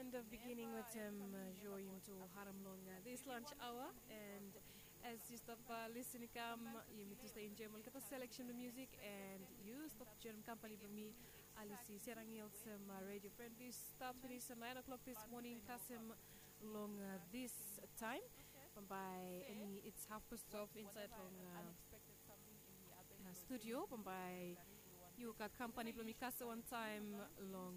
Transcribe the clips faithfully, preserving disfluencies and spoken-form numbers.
End of beginning wetem sho yumi tu harim long this lunch hour, and as yu stap lisin i kam, yumi tu stap enjoim olgeta selection blong music, and yu stap joinim kampani blong mi, Alisi Serangil, olsem redio fren blong yu stap finis nine o'clock this morning kasem long this time. Bambae it's half past twelve insaed long studio. Bambae yu gat kampani blong mi kasem wantaem long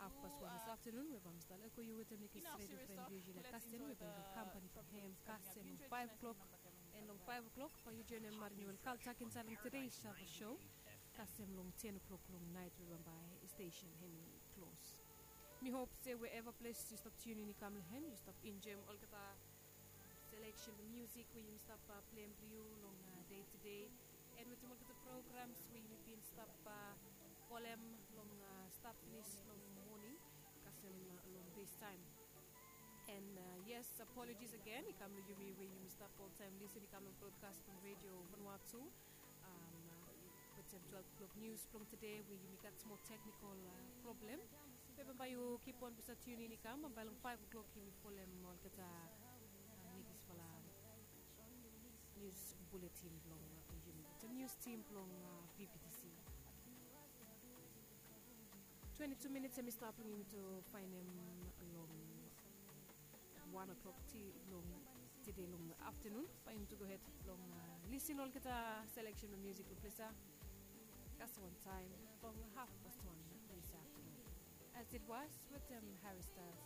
hafpas wan this aftenun we bae mi stap lego yu wetem nekis redio fren blong yu, yu laik kasem, we bae yu gat kampani blong hem kasem long five o'clock. And long five o'clock bae yu joinim Marinewel Kaltak insaed long Today's Show kasem long ten o'clock long naet, we bambae stesen hem i klos. Mi hop se wherever ples yu stap tiunin i kam long hem, yu stap enjoim olgeta selection blong music we yumi stap pleim blong yu long dei tede, and wetem olgeta programs we yumi bin stap folem long stap finis long moning kasem long this time. And yes, apologies again i kam long yumi we yumi stap oltaem lisin i kam long brodkas blong redio Vanuatu wetem twelve o'clock nius blong tede we yumi gat smol teknikol problem. Be bambae yu kipon blong stap tiunin i kam, bambae long five o'clock yumi folem olgeta nekisfala nius buletin blong yumi wetem nius tim blong PPTC. Twenti tu minits hem i stap long yumi tu faenem long wan o'clock ti long tede long aftenun, bae yumi tu gohed long lisin olgeta selection blong music blong ples ya kasem wantaem long hafpas wan this aftenun. As it was wetem Harry Styles,